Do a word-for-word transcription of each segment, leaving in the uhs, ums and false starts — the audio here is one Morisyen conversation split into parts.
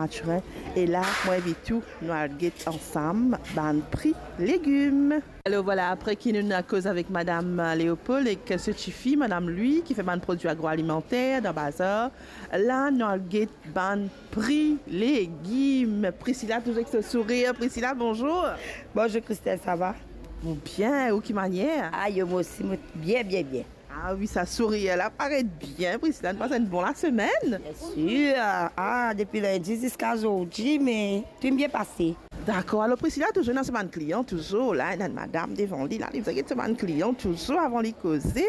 Mathurin. E la, mo invit ou, nou al get ansam bann pri legim. Alor vwala, apre ki nou inn koz avek madam Leopold ek so tifi, madam Louis, ki fer bann prodwi agroalimanter dan bazar, la nou al get bann pri legim. Priscilla, touzour ek so sourir. Priscilla, bonzour. Bonzour Christelle, sava? Mo bien, ou ki manier? Ayo, mo osi, mo bien, bien, bien. Ah wi, sa sourir la paret bien, Priscilla. Nou pas enn bon lasemenn? Biensir. Ah, depi lindi ziska zordi, me tou bien pase. Dakor. Alor, Priscilla touzour ena so bann klian, touzour la, ena enn madam devan li la, li bizin get so bann klian touzour avan li koze.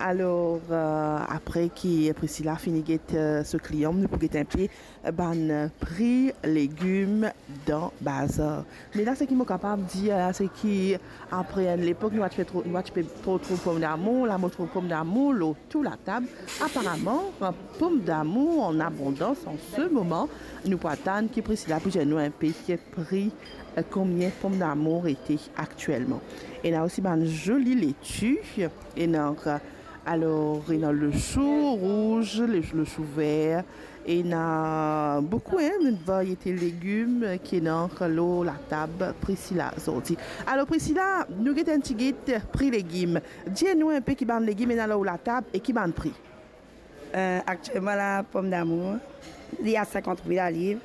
Alor, eh, apre ki Priscilla fini get, eh, so klian, nou pou get inpe bann pri legim dan bazar. Me la, seki mo kapav dir la, seki apre enn lepok, nou pa ti pe tro-, nou pa ti pe tro trouv pomdamour, la mo trouv pomdamour lor tou latab. Aparaman, pomdamour an abondans an se moman. Nou pou atann ki Priscilla pou dir nou inpe ki pri, eh, konbien pomdamour ete aktielman. Ena osi bann zoli leti, ena, eh, alor, ena lechou rouz, le, lechou ver, ena boukou, hein, variete legim ki ena lor latab Priscilla zordi. Alor, Priscilla, nou get enn tigit pri legim. Dir nou inpe ki bann legim ena lor latab e ki bann pri. Eh, aktielman la, pomdamour, li a sinkant roupi laliv.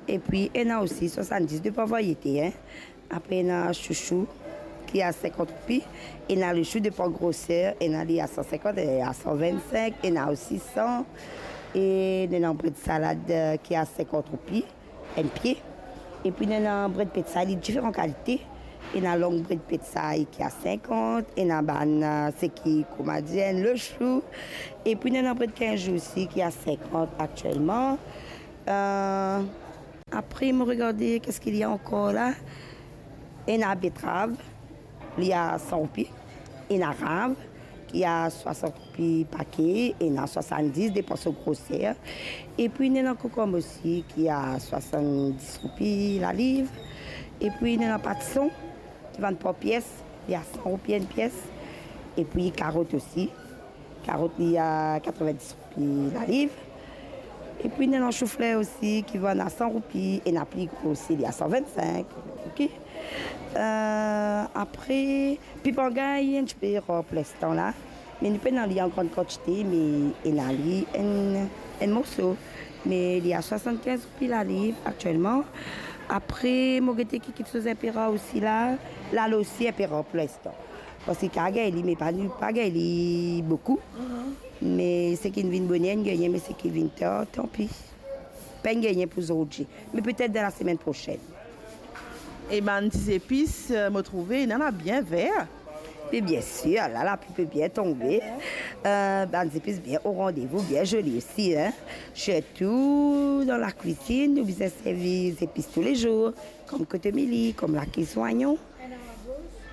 Epi ena osi swasanndis, depan variete, hein. Apre ena chouchou ki a sinkant roupi, ena lechou, depan groser, ena li a san sinkant, eh, a san vinn-sink, ena osi san, e ena bred salad, eh, ki a sinkant roupi, enn pie. Epi ena bred petsay, li diferan kalite. Ena long bred petsay ki a sinkant, ena bann, eh, seki, kouma dir, enn lechou. Epi ena bred kinz zour osi ki a sinkant aktielman. Eh, Apre, mo regarde, ki eski li ankor la? Ena betrav, li a san roupi. Ena rav, ki a swasant roupi pake, ena swasanndis, depan so groser. Epi, ena kokonm osi, ki a swasanndis roupi laliv. Epi, ena patson, ki vann par pies, li a san roupi enn pies. Epi, karot osi. Karot, li a katrevindis roupi laliv. Epi, ena soufler osi, ki vann a san roupi, ena pli gro osi, li a san vinn-sink, ok. Eh, apre, pipangay, enn tipe rar pou linstan la, me nou pena li an gran kantite, me ena li enn, enn morso, me li a swasann-kinz roupi laliv aktielman. Apre, mo gete ki kiksoz inpe rar osi la, lalo osi inpe rar pou linstan. Parski kapav gagn li, me pa, nou pa gagn li boukou. Me seki vinn boner, nou gagn, me seki vinn tar, tanpi. Pa'nn gagn pou zordi, me petet dan lasemenn prosenn. E bann ti zepis, eh, mo trouve, ena la bien ver. Me biensir, la, lapli pe bien tonbe. Eh, bann zepis bien o randevou, bien zoli osi, hein. Sirtou dan lakwizinn, nou bizin servi zepis toulezour, kom kotomili, kom laki zoignon,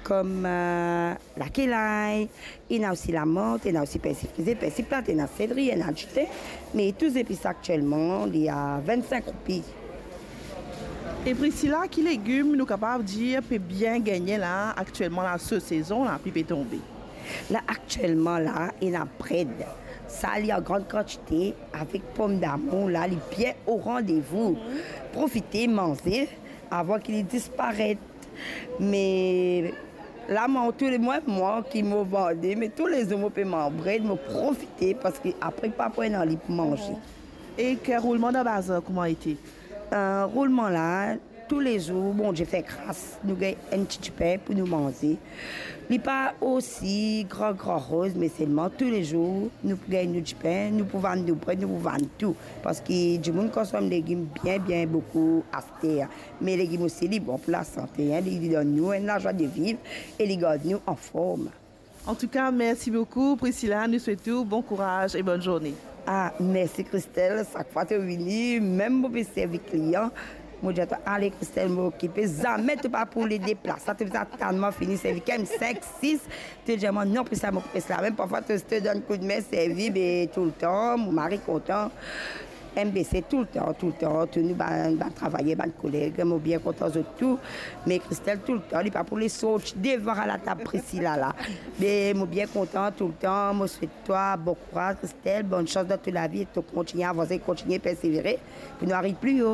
kom, eh, laki lay, ena osi lamant, ena osi persi frize, persi plat, ena seleri, ena dite, me tou zepis aktielman, li a vinn-sink roupi. E Priscilla, ki legim nou kapav dir pe bien gagne la, aktielman la, so sezon lapli pe tonbe? La, aktielman la, ena bred. Sa, li an gran kantite, avek pomdamour la, li bien o randevou. Profite manze avan ki li disparet. Me la, mwa, tou le, mwa, mwa ki mo vande, me toulezour mo pe manz bred, mo profite, parski apre pa pou ena li pou manze. E ki roulman dan bazar, kouma ete? Eh, roulman la, toulezour, Bondie fer gras, nou gagn enn ti dipin pou nou manze. Li pa osi gran, gran roz, me selman toulezour, nou pou gagn nou dipin, nou pou vann nou bred, nou pou vann tou. Parski dimoun konsom legim bien, bien boukou aster. Me legim osi, li bon pou lasante, hein, li, li donn nou enn lazwa de viv e li gard nou anform. Antouka, mersi boukou, Priscilla. Nou swet ou bon kouraz e bonn zourne. Ah, mersi, Christelle. Sak fwa to vini, mem mo pe servi klian, mo dir twa, "Ale, Christelle, mo okipe." Zame to pa pou le deplas. Sa to bizin atann mwa fini servi kemem sink, sis. To dir mwa, "Non, Priscilla, mo okipe sla." Mem parfwa to, to donn koudme servi, be toultan, mo mari kontan. M B C toultan, toultan, tou nou bann, bann travayer, bann koleg, mo bien kontan zot tou. Me Christelle toultan, li pa pou les sorti devan latab Priscilla la. Me mo bien kontan toultan, mo swet twa bon kouraz, Christelle, bonn sans dan to lavi e to kontigne avanse, kontigne persevere pou nou ariv pli o.